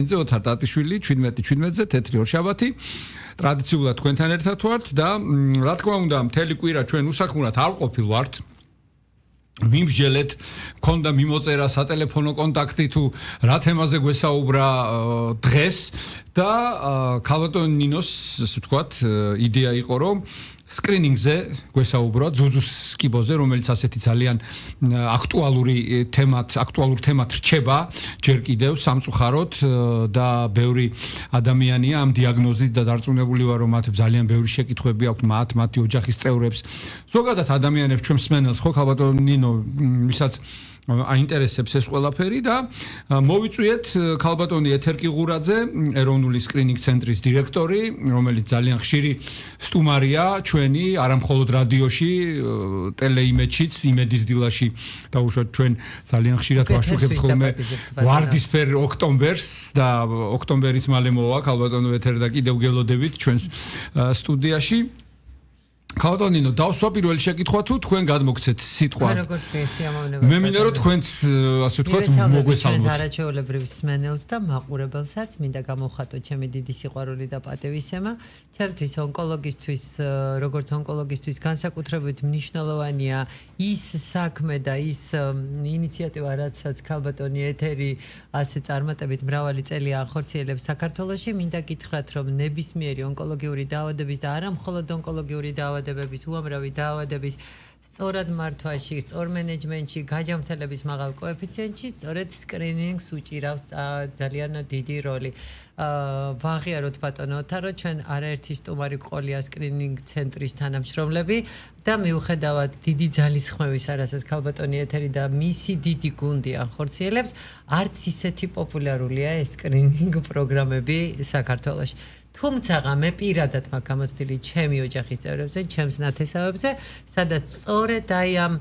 ოთარ ტატიშვილი 17-17-ზე თეთრი ორშაბათი ტრადიციულად თქვენთან ერთად ვართ და რა თქმა უნდა მთელი კვირა ჩვენ უსაქმურად არ ყოფილ ვართ მიმსჯელეთ მქონდა მიმოწერა სატელეფონო კონტაქტი თუ რა თემაზე გვესაუბრა დღეს და ქალბატონ ნინოს ასე ვთქვათ იდეა იყო რომ სკრინინგზე გვესაუბრა ძუძუს კიბოზე რომელიც ასეთი ძალიან აქტუალურ თემად რჩება ჯერ კიდევ სამწუხაროდ და ბევრი ადამიანია ამ დიაგნოზით და დარწმუნებული ვარ რომ მათ ძალიან ბევრი შეკითხვები აქვთ მათი ოჯახის წევრებს ზოგადად ადამიანებს ჩვენ მსმენელს ხო ქალბატონ ნინო ვისაც აინტერესებს ეს ყველაფერი და მოვიწვიეთ ქალბატონი ეთერ კიღურაძე ეროვნული სკრინინგ ცენტრის დირექტორი რომელიც ძალიან ხშირი სტუმარია ჩვენი არა მხოლოდ რადიოში ტელეიმედშიც იმედის დილაში დაუშვათ ჩვენ ძალიან ხშირად ვაშუქებთ ხოლმე ვარდისფერ ოქტომბერს და ოქტომბერის მალე მოვა ქალბატონო ეთერ და კიდევ გელოდებით ჩვენს სტუდიაში ქალბატონინო დავსვა პირველი შეკითხვა თუ თქვენ გადმოგცეთ სიტყვა როგორც სიამოვნებაა მე მინდა რომ თქვენც ასე ვთქვათ მოგესალმოთ ჩვენს არაჩვეულებრივ სმენელს და მაყურებელსაც მინდა გამოვხატო ჩემი დიდი სიყვარული და პატივისცემა ჩემთვის ონკოლოგისტვის როგორც ონკოლოგისტვის განსაკუთრებით მნიშვნელოვანია ის საქმე და ის ინიციატივა რაცაც ქალბატონი ეთერი ასე წარმატებით მრავალი წელი ახორციელებს საქართველოში მინდა გითხრათ რომ ნებისმიერი ონკოლოგიური დაავადების და არა მხოლოდ ონკოლოგიური დაავადებების უამრავი დაავადების სწორად მართვაში, სწორ მენეჯმენტში, გაჯამრთელების მაღალ კოეფიციენტში სწორედ სკრინინგს უჭირავს ძალიან დიდი როლი. ვაღიაროთ ბატონო ოთარო, ჩვენ არაერთი სტუმარი ყოლია სკრინინგ ცენტრის თანამშრომლები და მიუხედავად დიდი ძალისხმევისა, რასაც ქალბატონი ეთერი და მისი დიდი გუნდი ახორციელებს, არც ისეთი პოპულარულია ეს სკრინინგ პროგრამები საქართველოში. თუმცა მე პირადად მაქვს გამოცდილი ჩემი ოჯახის წევრებზე, ჩემს ნათესავებზე, სადაც სწორედ აი ამ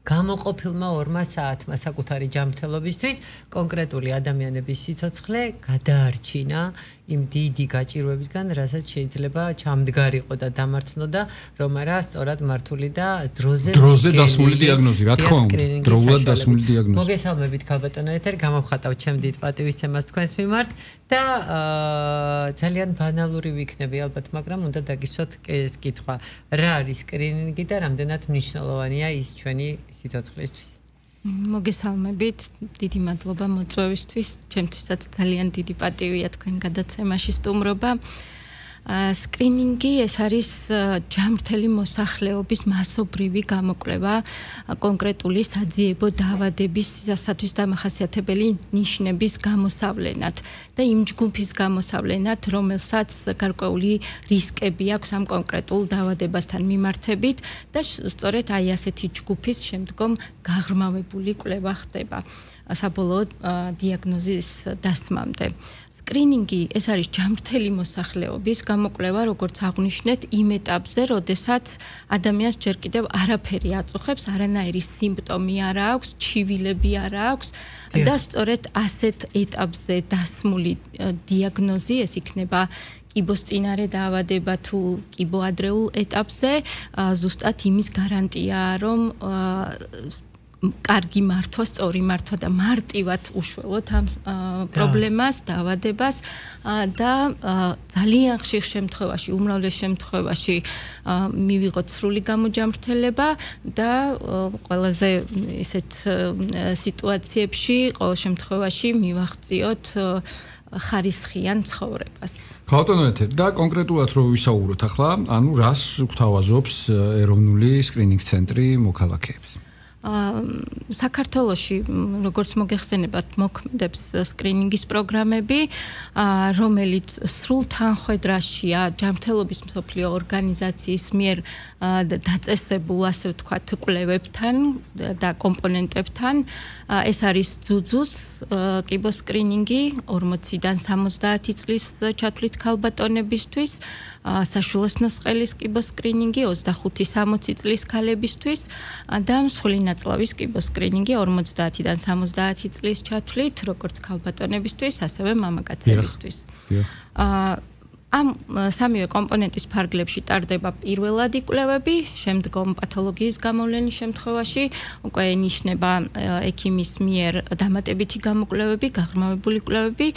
გამოყოფილმა 2 საათმა საკუთარი ჯანმრთელობისთვის კონკრეტული ადამიანების სიცოცხლე გადაარჩინა იმ დიდი გაჭირვებისგან, რასაც შეიძლება ჩამდგარიყო და დამართნოდა, რომ არა სწორად მართული და დროზე დასმული დიაგნოზი, რა თქმა უნდა, დროულად დასმული დიაგნოზი. მოგესალმებით ქალბატონო ეთერ, გამოვხატავ ჩემ დიდ პატივისცემას თქვენს მიმართ და ძალიან ბანალური ვიქნები ალბათ, მაგრამ უნდა დაგისვათ ეს კითხვა. რა არის სკრინინგი და რამდენად მნიშვნელოვანია ის ჩვენი სიცოცხლისთვის? მოგესალმებით, დიდი მადლობა მოწვევისთვის. ჩემთვისაც ძალიან დიდი პატივია თქვენ გადაცემაში სტუმრობა. სკრინინგი ეს არის ჯანმრთელი მოსახლეობის მასობრივი გამოკვლევა კონკრეტული საძიებო დაავადებისათვის დამახასიათებელი ნიშნების გამოსავლენად და იმ ჯგუფის გამოსავლენად, რომელსაც გარკვეული რისკები აქვს ამ კონკრეტულ დაავადებასთან მიმართებით და სწორედ აი ასეთი ჯგუფის შემდგომ გაღრმავებული კვლევა ხდება საბოლოო დიაგნოზის დასმამდე. სკრინინგი ეს არის ჯანმრთელი მოსახლეობის გამოკვლევა, როგორც აღვნიშნეთ, იმ ეტაპზე, როდესაც ადამიანს ჯერ კიდევ არაფერი აწუხებს, არანაირი სიმპტომი არ აქვს, ჩივილები არ აქვს და სწორედ ასეთ ეტაპზე დასმული დიაგნოზი ეს იქნება კიბოსწინარე დაავადება თუ კიბოადრეულ ეტაპზე, ზუსტად იმის გარანტიაა, რომ კარგი მართვა, სწორი მართვა და მარტივად უშველოთ ამ პრობლემას, დაავადებას და ძალიან ხშირ შემთხვევაში, უმრავლეს შემთხვევაში მივიღოთ სრული გამოჯამრთელება და ყველაზე ისეთ სიტუაციებში, ყოველ შემთხვევაში მივაღწიოთ ხარისხიან ცხოვრებას. ქალბატონო ეთერ და კონკრეტულად რო ვისაუბროთ ახლა, ანუ რას გვთავაზობს ეროვნული სკრინინგ ცენტრი მოქალაქეებს? საქართველოში როგორც მოგეხსენებათ მოქმედებს სკრინინგის პროგრამები, რომელიც სრულ თანხვედრაშია ჯანმრთელობის მსოფლიო ორგანიზაციის მიერ დაწესებულ ასე ვთქვათ კვლევებთან და კომპონენტებთან. ეს არის ძუძუს კიბოსკრინინგი 40-დან 70 წლის ჩათვლით ქალბატონებისთვის, საშუალო ნოსყელის კიბოსკრინინგი 25-60 წლის ქალებისთვის და მსხვილი ნაწლავის კიბოსკრინინგი 50-დან 70 წლის ჩათვლით, როგორც ქალბატონებისთვის, ასევე მამაკაცებისთვის. ამ სამივე კომპონენტის ფარგლებში ტარდება პირველადი კვლევები, შემდგომ პათოლოგიის გამოვლენის შემთხვევაში უკვე ნიშნება ექიმის მიერ დამატებითი გამოკვლევები, გაღრმავებული კვლევები